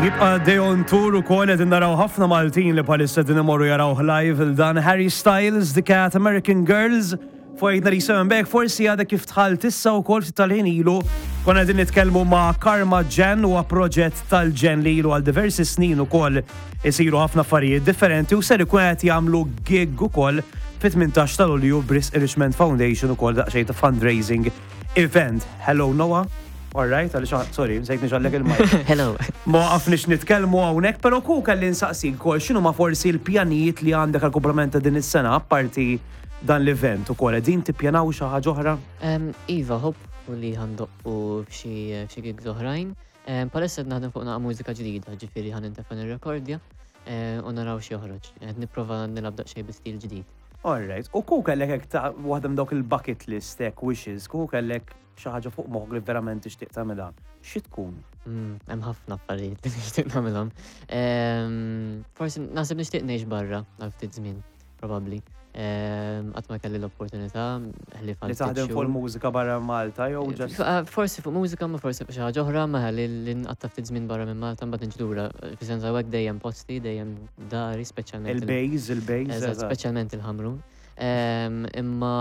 Jibqa' Day on Tour ukoll qegħdin naraw ħafna Maltin li bħalissa qegħdin imorru jarawh live il dan Harry Styles, The Cat, American Girls, fuq 897 Back, forsi għadek kif dħalt issa wkoll ftit tal-ħin ilu konna qegħdin nitkellmu ma' Karma Ġen huwa proġett tal-ġen li ilu għal diversi snin ukoll isiru ħafna affarijiet differenti u ser ikun qed jagħmlu gig ukoll fit-18 ta' Lulju b'risq Richmond Foundation ukoll daqsxejn ta' fundraising event. Hello Noah. All right, għaliex sorry, nsejt nixgħallek il-mic. Hello. Ma waqafniex nitkellmu hawnhekk, però ku kelli nsaqsik ukoll x'inhu ma forsi l-pjanijiet li għandek għal kumplament ta' din is-sena apparti dan l-event ukoll qegħdin tippjanaw xi ħaġa oħra? Iva, hopefully ħa ndoqqu f'xi gigs oħrajn. Bħalissa qed naħdem fuq naqa' mużika ġdida, ġifieri ħa nintefa' nirrekordja u naraw x'joħroġ. Qed nipprova nilgħab daqsxejn bi stil ġdid. All right. U ku kellek hekk ta' waħda minn dawk il-bucket list hekk wishes, ku kellek xi ħaġa fuq moħħok li verament tixtieq tagħmilha, xi tkun? Hemm ħafna affarijiet li nixtieq nagħmilhom. Forsi naħseb nixtieq ngħix barra għal ftit żmien, probabbli. Qatt ma kelli l-opportunità ħlief għal Li taħdem fuq il-mużika barra Malta jew eh, just. Eh, forsi fuq mużika, ma forsi fuq xi ħaġa oħra, ma li nqatta' ftit żmien barra minn Malta mbagħad niġi lura. Fis-sens hawnhekk dejjem posti, dejjem dari, speċjalment. Il-bejż, il-bejż. Speċjalment il-Ħamrun. Imma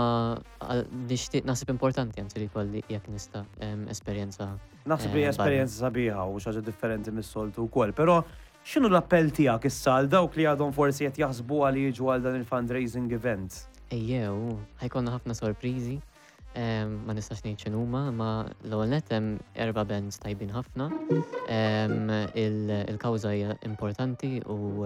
nixtieq naħseb importanti anzi li jkolli jekk nista' esperjenza. Naħseb li eh, esperjenza sabiħa u xi ħaġa differenti mis-soltu wkoll, però X'inhu l-appell tiegħek issa għal dawk li għadhom forsi qed jaħsbuha li jiġu għal dan il-fundraising event? Ejjew, ħa jkollna ħafna sorpriżi. Ma nistax ngħid x'inhuma, imma l-ewwel nett hemm erba' bands tajbin ħafna. Il-kawża hija importanti u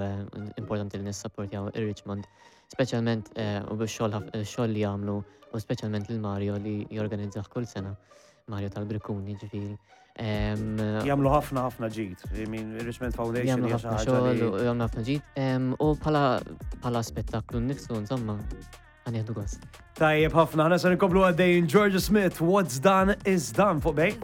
importanti li nissapportjaw ir-Richmond, speċjalment u bix-xogħol li jagħmlu u speċjalment lil Mario li jorganizzah kull sena. Mario tal-Brikkuni ġifieri. Jagħmlu ħafna ħafna ġid. I mean, Richmond Foundation. Jagħmlu ħafna xogħol u jagħmlu ħafna ġid. U bħala spettaklu nnifsu, insomma, għan gost. Tajjeb ħafna, ħana se nkomplu għaddejjin Georgia Smith, What's Done is Done fuq bej.